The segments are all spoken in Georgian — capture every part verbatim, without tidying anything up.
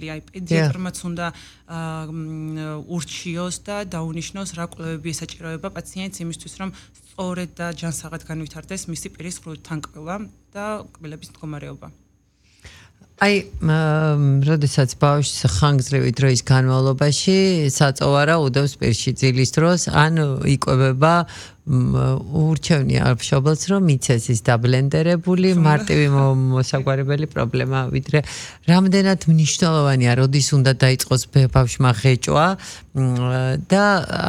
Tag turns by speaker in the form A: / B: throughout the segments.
A: შეუძლია. პედიატრმაც უნდა ურჩიოს და დაუნიშნოს რა კვლევები ესაჭიროება პაციენტს იმისთვის რომ სწორედ და ჯანსაღად განვითარდეს მისი პირის თანკბილვა და კბილების მდგომარეობა.
B: აი, როდესაც ბავშვს ხანგრძლივი დროის განმავლობაში საწოვარა უდევს პირში ძილის დროს, ან იკვებება ურჩევნია მშობელს რომ იცეს ის დაბლენდერებული მარტივი მოსაგვარებელი პრობლემა, ვიდრე რამდენად მნიშვნელოვანია, როდის უნდა დაიწყოს ბავშვმა ღეჭვა და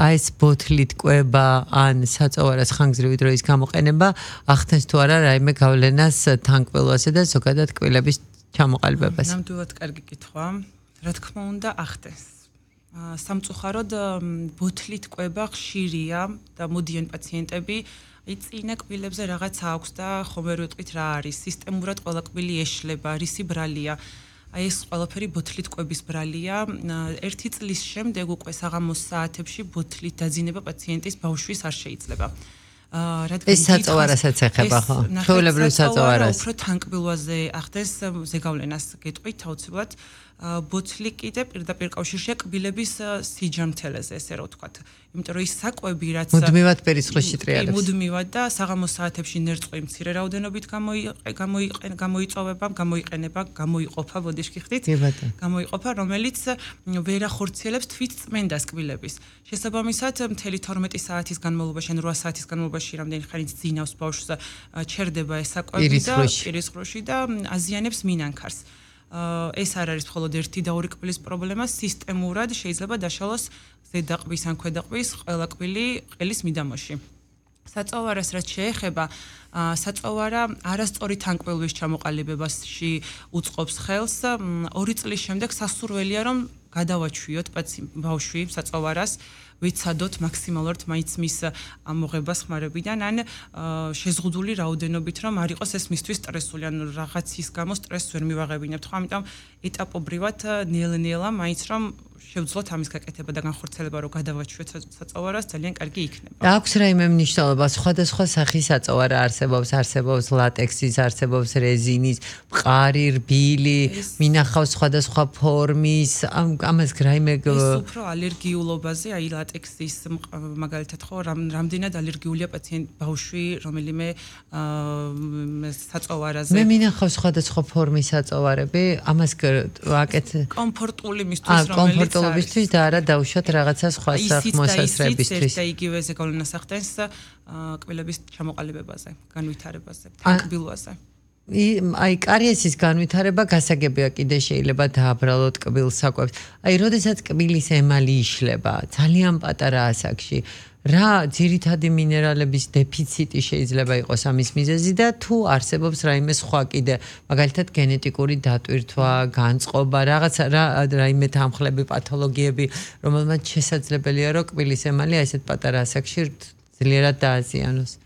B: აი ეს ბოთლით კვება ან საწოვარას ხანგრძლივი დროის გამოყენება ახდენს თუ არა რაიმე გავლენას თანკბილვასა და ზოგადად კბილების ჩამოყალიბებას.
A: ნამდვილად კარგი კითხვა. რა თქმა უნდა, ახდენს. სამწუხაროდ ბოთლით კვება ხშირია და მოდიან პაციენტები, აი წინა კბილებზე რაღაც აქვს და ხომ ვერ ვიტყვით რა არის. სისტემურად ყველა კბილი ეშლება, რისი ბრალია. აი ეს ყველაფერი ბოთლით კვების ბრალია. ერთი წლის შემდეგ უკვე საღამოს საათებში ბოთლით დაძინება პაციენტის ბავშვის არ შეიძლება.
B: ეს საწოვარასაც ეხება ხო? ჩვეულებრივ საწოვარას.
A: უფრო თანკბილვაზე ახდენს ზეგავლენას გეტყვით აუცილებლად. ბოთლი კიდე პირდაპირ კავშირშია კბილების სიჯამთელეზე, ესე რომ ვთქვათ. იმიტომ რომ ის საკვები რაც
B: მუდმივად პერისხლში ტრიალებს.
A: მუდმივად და საღამოს საათებში ნერწყვი მცირე რაოდენობით გამოიყენება, გამოიწოვება, გამოიყენება, გამოიყოფა, ბოდიშკი ხდით. გამოიყოფა, რომელიც ვერ ახორციელებს თვით წმენდას კბილების. შესაბამისად, მთელი თორმეტი საათის განმავლობაში, ან რვა საათის განმავლობაში რამდენი ხანით ძინავს ბავშვს ჩერდება ეს საკვები და პირისყრუში და აზიანებს მინანქარს. ეს არ არის მხოლოდ ერთი და ორი კბილის პრობლემა, სისტემურად შეიძლება დაშალოს ზედაყბის ან ქვედაყბის ყველა კბილი ყელის მიდამოში. საწოვარას რაც შეეხება, საწოვარა არასწორი თანკბილვის ჩამოყალიბებაში უწყობს ხელს. ორი წლის შემდეგ სასურველია რომ გადავაჩვიოთ ბავშვი საწოვარას, ვიცადოთ მაქსიმალურად მაინც მის ამოღებას ხმარებიდან, ან შეზღუდული რაოდენობით რომ არ იყოს ეს მისთვის სტრესული, ან რაღაცის გამო სტრესს ვერ მივაღებინებთ, ხო? ამიტომ ეტაპობრივად ნელ-ნელა მაინც რომ შევძლოთ ამის გაკეთება და განხორციელება რომ გადავაჩვიოთ საწოვარას ძალიან კარგი იქნება.
B: აქვს რაიმე მნიშვნელობა, სხვადასხვა სახის საწოვარა არსებობს, არსებობს ლატექსის, არსებობს რეზინის, მყარი, რბილი, მინახავს სხვადასხვა ფორმის, ამას რაიმე
A: ეს უფრო ალერგიულობაზე, აი ლატექსის მაგალითად ხო, რამდენად ალერგიულია პაციენტ ბავშვი რომელიმე საწოვარაზე.
B: მე მინახავს სხვადასხვა ფორმის საწოვარები, ამას ვაკეთე
A: კომფორტული მისთვის რომელიც
B: კომფორტულობისთვის და არა დავუშვათ რაღაცა სხვა მოსასწრებისთვის.
A: და იგივე ზეგავლენას ახდენს კბილების ჩამოყალიბებაზე, განვითარებაზე, თანკბილვაზე.
B: აი კარიესის განვითარება გასაგებია კიდე შეიძლება დააბრალოთ კბილს საკვებს. აი როდესაც კბილის ემალი იშლება ძალიან პატარა ასაკში, რა ძირითადი მინერალების დეფიციტი შეიძლება იყოს ამის მიზეზი და თუ არსებობს რაიმე სხვა კიდე, მაგალითად გენეტიკური დატვირთვა, განწყობა, რაღაცა რაიმე თანხლები, პათოლოგიები, რომელმაც შესაძლებელია რომ კბილის ემალი აი ესეთ პატარა ასაკში ძლიერად დააზიანოს.